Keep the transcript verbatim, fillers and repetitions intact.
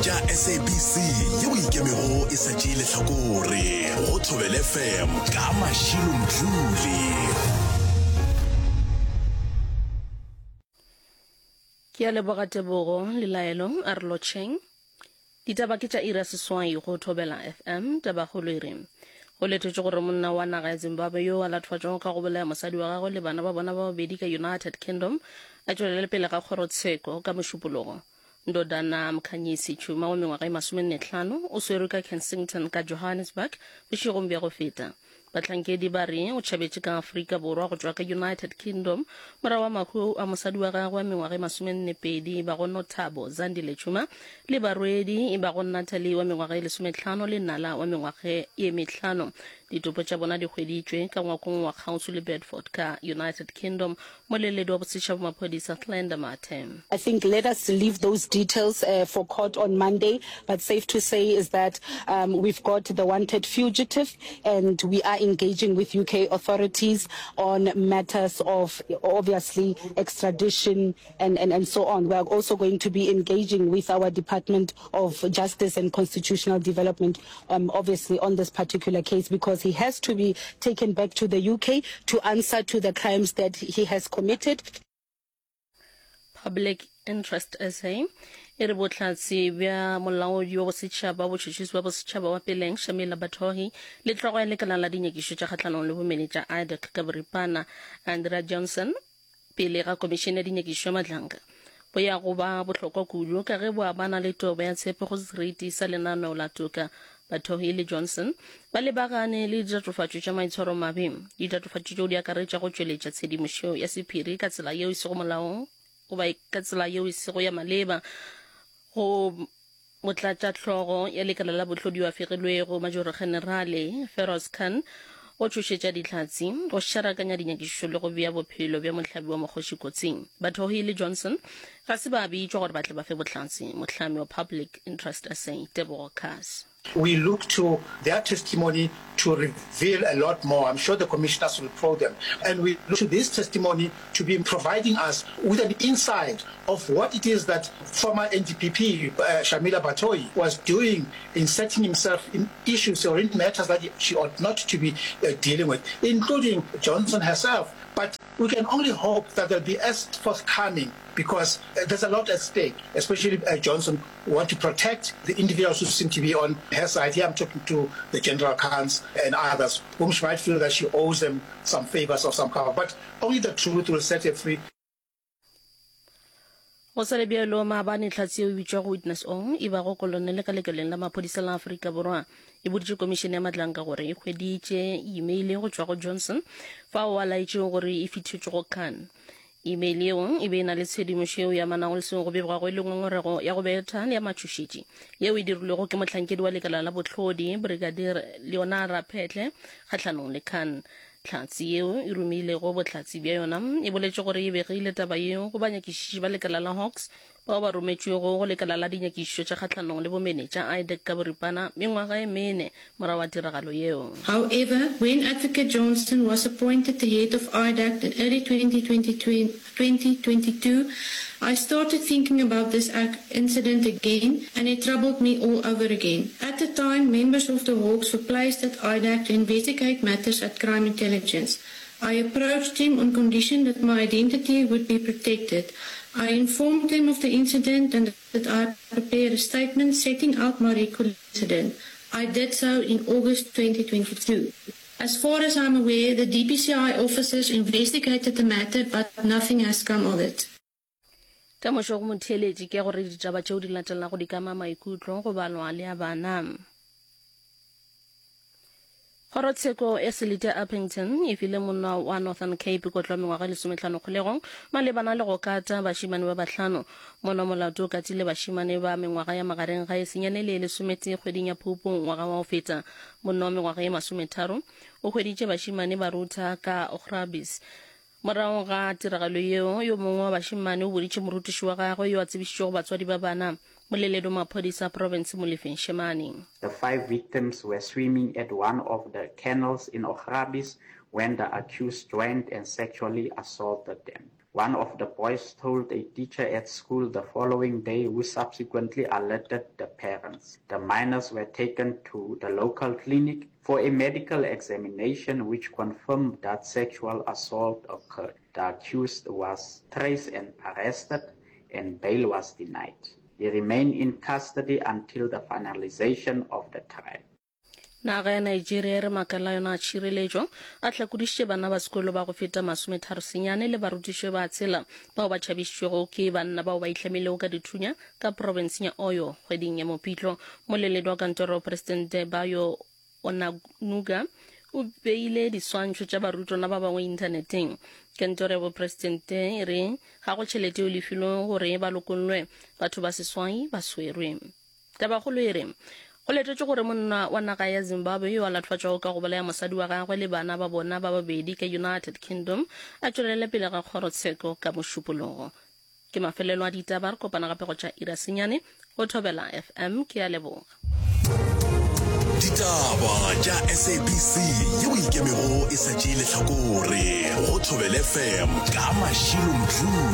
tša S A B C yeo ikemego e sa tšee lehlakore go Thobela F M ka Mashilo Mdluli. Ke a leboga Tebogo le Laelo a re lotšheng. Ditaba ke tša iri ya seswai go Thobela F M. Tabakgolo e re go letetšwe gore monna wa naga ya Zimbabwe yo a latofatšwago ka go bolaya mosadi wa gagwe le bana ba bona ba babedi ka United Kingdom a tšwelele pele ga kgorotsheko ka Mošupologo. Ndodana Mkhanyisi Tshuma wa mengwaga e masomenne hlano o swerwe ka Kensington ka Johannesburg bošegong bja go feta. Bahlankedi ba re o tšhabetše ka Afrika Borwa go tšwa ka United Kingdom morago wa mahu a mosadi wa gagwe wa mengwaga e masomenne pedi ba go Nothabo Zandile Tshuma le barwedi ba go Natalie wa mengwaga e lesometlhano le Nala wa mengwaga e mehlano. Ditopo tša bona di hweditšwe ka ngwakong wa kgauswi le Bedford ka United Kingdom. Moleledi wa bosetšhaba maphodisa Glenda Mathe. I think let us leave those details uh, for court on Monday, but safe to say is that um, we've got the wanted fugitive and we are engaging with U K authorities on matters of obviously extradition and, and, and so on. We are also going to be engaging with our Department of Justice and Constitutional Development, um, obviously on this particular case, because he has to be taken back to the U K to answer to the crimes that he has committed. Public Interest S A e re bohlatse bja molaodi wa bosetšhaba botšhotšhisi wa bosetšhaba wa peleng Shamila Batohi le hlogo ya lekala la dinyakišo tša kgahlanong le bomenetša IDAC ka boripana Andrea Johnson pele ga komišene ya dinyakišo ya Madlanga bo ya go ba bohlokwa kudu ka ge bo amana le tobo ya tshepo go seriti sa lenaneo la toka. Batohi le Johnson ba lebagane le ditatofatšo tša maitshwaro mabe. Ditatofatšo tšeo di akaretša go tšweletša tshedimošo ya sephiri ka tsela yeo e sego molaong goba ka tsela yeo e sego ya maleba go motlatšahlogo ya lekala la bohlodi wa fegilwego Majoro Generale Feroz Khan, go tšhošetša dihlatse, go šarakanya dinyakišišo le go bea bophelo bja mohlabi wa mokgoši kotsing. Batohi le Johnson ga se ba bitšwa gore ba tle ba fe bohlatse. Mohlami wa Public Interest S A, Tebogo Khaas. We look to their testimony to reveal a lot more. I'm sure the commissioners will probe them. And we look to this testimony to be providing us with an insight of what it is that former N D P P uh, Shamila Batohi was doing, inserting himself in issues or in matters that she ought not to be uh, dealing with, including Johnson herself. But we can only hope that they'll be as forthcoming because uh, there's a lot at stake, especially uh, Johnson want to protect the individuals who seem to be on her side. Here I'm talking to the General Khans and others whom she might feel that she owes them some favors of some kind. But only the truth will set her free. Go sa le bjalo, maabane hlatse yeo e bitšwago Witness O e bago kolonele ka lekaleng la maphodisa la Afrika Borwa e boditše komišene ya Madlanga gore e hweditše email go tšwa go Johnson fao a laetšego gore e fithetšwe go Khan. Email yeo e be e na le tshedimošo yeo ya amanago le seo go begwago e le ngongorego ya go betha le ya matšhošetši yeo e dirilwego ke mohlankedi wa lekala la bohlodi Brigadier Leonara Phetle kgahlanong le Khan. Hlatse yeo e romilego bohlatse bja yona e boletše gore e begile taba yeo go banyakišiši ba lekala la Hawks bao ba rometšwego go lekala la dinyakišišo tša kgahlanong le bomenetša IDAC ka boripana mengwaga e mene morago wa tiragalo yeo. However, when Advocate Johnson was appointed the head of I D A C in early twenty twenty-two, I started thinking about this incident again and it troubled me all over again. At the time, members of the Hawks were placed at I D A C to investigate matters at crime intelligence. I approached him on condition that my identity would be protected. I informed him of the incident and that I prepared a statement setting out my recollection of the incident. I did so in August twenty twenty-two. As far as I'm aware, the D P C I officers investigated the matter, but nothing has come of it. Temošo go motheeletši ke gore ditaba tšeo di latelago di kama maikutlo go balwa le a bana. Kgorotsheko ya selete Upington e file monna wa Northern Cape kotlo mengwaga e lesometlhano kgolegong malebana le go kata bašemane ba bahlano. Monna molato o katile bašemane ba mengwaga ya magareng ga e senyane le e lesometee kgweding ya Phupu ngwaga wa go feta. Monna wa mengwaga e masometharo o hweditše bašemane ba rutha ka Augrabies. Morago ga tiragalo yeo, yo mongwe wa bašemane o boditše morutiši wa gagwe yo a tsebišitšego batswadi ba bana. Moleledi wa maphodisa a province Molefi Shemane. The five victims were swimming at one of the canals in Augrabies when the accused joined and sexually assaulted them. One of the boys told a teacher at school the following day who subsequently alerted the parents. The minors were taken to the local clinic for a medical examination which confirmed that sexual assault occurred. The accused was traced and arrested and bail was denied. He remained in custody until the finalization of the trial. Naga ya Nigeria e re makala a yona a tšhireletšo a hlakodišitše bana ba sekolo ba go feta masometharo senyane le barutiši ba tshela bao ba tšhabišitšwego ke banna bao ba ihlamilego ka dithunya ka profenseng ya Oyo kgweding ya Mopitlo. Moleledi wa kantoro ya Presidente Bayo Onanuga o beile diswantšho tša barutwana ba bangwe inthaneteng. Kantoro ya bopresidente e re ga go tšhelete yeo lefilwego gore ba lokollwe. Batho ba seswai ba swerwe. Tabakgolo e re, Go letetšwe gore monna wa naga ya Zimbabwe yo a latofatšwago ka go bolaya mosadi wa gagwe le bana ba bona ba babedi ka United Kingdom a tšwelele pele ga kgorotsheko ka Mošupologo. Ke mafelelo a ditaba, re kopana gape go tša iri ya senyane go Thobela F M. Ke a leboga. Ditaba tša S A B C yeo e ikemego e sa tšee lehlakore go Thobela F M ka Mashilo Mdluli.